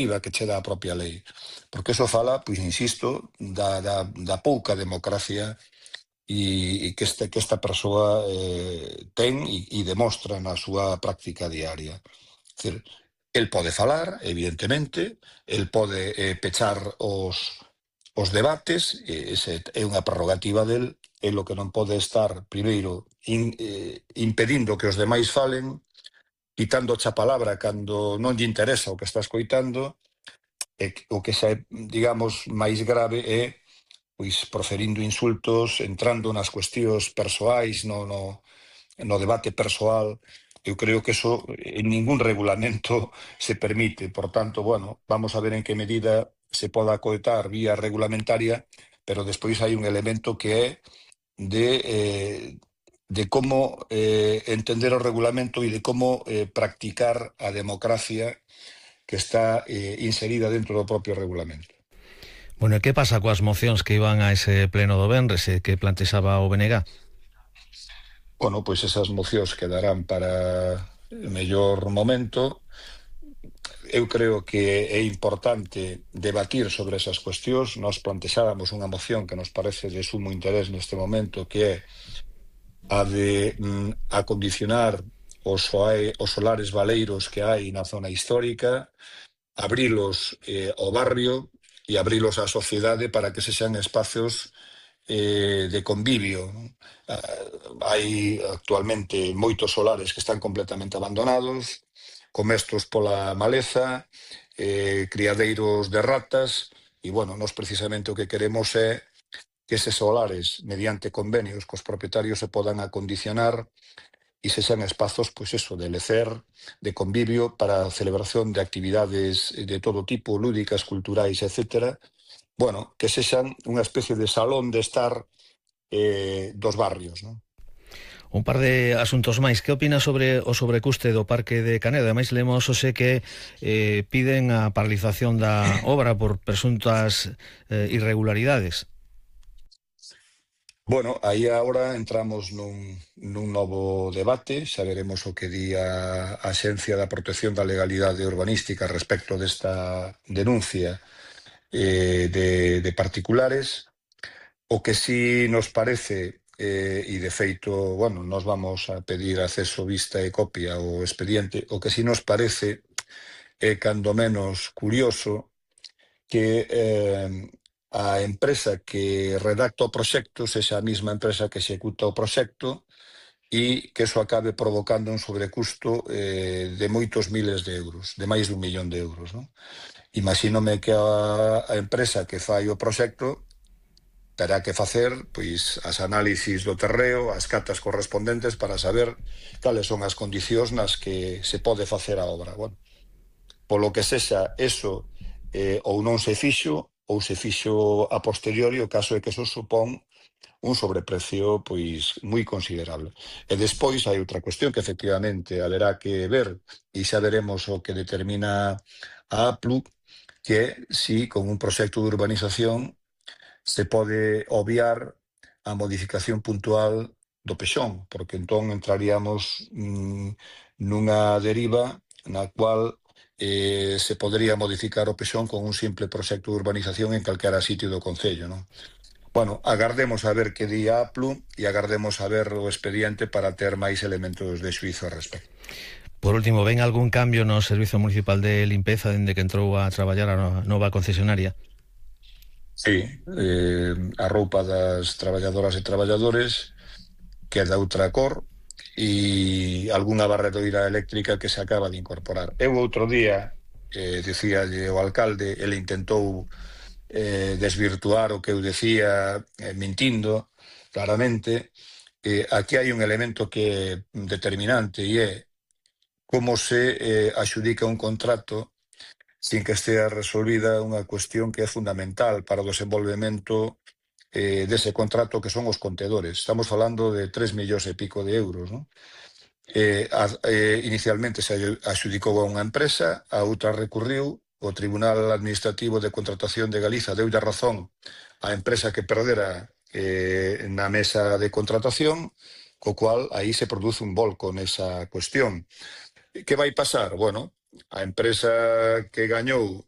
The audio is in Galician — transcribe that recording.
prerrogativa que che dá a propia lei. Porque eso fala, pois insisto, da pouca democracia e que esta persoa ten e demostra na súa práctica diaria. É dicir, el pode falar, evidentemente, el pode pechar os debates, ese é unha prerrogativa del, e lo que non pode estar, primeiro, impedindo que os demais falen, quitando a palabra cando non lle interesa o que está escoitando, e o que xa é, digamos, máis grave é pois proferindo insultos, entrando nas cuestións persoais, no debate persoal. Eu creo que eso en ningún regulamento se permite. Por tanto, bueno, vamos a ver en que medida se poda acoetar vía regulamentaria, pero despois hai un elemento que é de como entender o regulamento e de como practicar a democracia que está inserida dentro do propio regulamento. Bueno, e que pasa coas mocións que iban a ese pleno do venres e que plantexaba o BNG? Bueno, pois esas mocións quedarán para mellor momento. Eu creo que é importante debatir sobre esas cuestións. Nos plantexábamos unha moción que nos parece de sumo interés neste momento, que é a de acondicionar os solares baleiros que hai na zona histórica, abrilos ao barrio e abrilos á sociedade para que sexan espacios de convivio. Hai actualmente moitos solares que están completamente abandonados, comestos pola maleza, criadeiros de ratas, e, bueno, nós precisamente o que queremos é que eses solares, mediante convenios cos propietarios, se podan acondicionar e sexan espazos, pois eso, de lecer, de convivio, para a celebración de actividades de todo tipo, lúdicas, culturais, etcétera. Bueno, que sexan unha especie de salón de estar dos barrios, non? Un par de asuntos máis. Que opina sobre o sobrecuste do Parque de Canedo? Ademais, lemos hoxe que piden a paralización da obra por presuntas irregularidades. Bueno, aí agora entramos nun novo debate. Xa veremos o que di a Axencia da Protección da Legalidade Urbanística respecto desta denuncia de particulares. O que sí nos parece, e de feito, bueno, nos vamos a pedir acceso, vista e copia ao expediente, o que sí nos parece é cando menos curioso que a empresa que redacta o proxecto sexa a mesma empresa que executa o proxecto e que eso acabe provocando un sobrecusto de moitos miles de euros, de máis de 1 millón de euros, non? Imagínome que a empresa que fai o proxecto terá que facer pois as análisis do terreo, as catas correspondentes para saber cales son as condicións nas que se pode facer a obra. Bueno, polo que sexa eso ou non se fixo, ou se fixo a posteriori, o caso é que eso supón un sobreprecio pois moi considerable. E despois hai outra cuestión que efectivamente haberá que ver, e xa veremos o que determina a APLU, que é si con un proxecto de urbanización se pode obviar a modificación puntual do pexón, porque entón entraríamos nunha deriva na cual se podría modificar o pexón con un simple proxecto de urbanización en calquera sitio do concello, non? Bueno, agardemos a ver que di a APLU e agardemos a ver o expediente para ter máis elementos de xuízo ao respecto. Por último, ven algún cambio no Servizo Municipal de Limpeza dende que entrou a traballar a nova concesionaria? Sí, a roupa das traballadoras e traballadores queda outra cor e algunha barredoira eléctrica que se acaba de incorporar. Eu outro día, dicíalle o alcalde, ele intentou desvirtuar o que eu decía mintindo claramente. Aquí hai un elemento que é determinante e é como se axudica un contrato sin que estea resolvida unha cuestión que é fundamental para o desenvolvemento dese contrato, que son os contedores. Estamos falando de 3 millóns e pico de euros, non? Inicialmente se axudicou a unha empresa, a outra recurriu, o Tribunal Administrativo de Contratación de Galiza deulle a razón á empresa que perdera na mesa de contratación, co cual aí se produce un volco nesa cuestión. Que vai pasar? Bueno, a empresa que gañou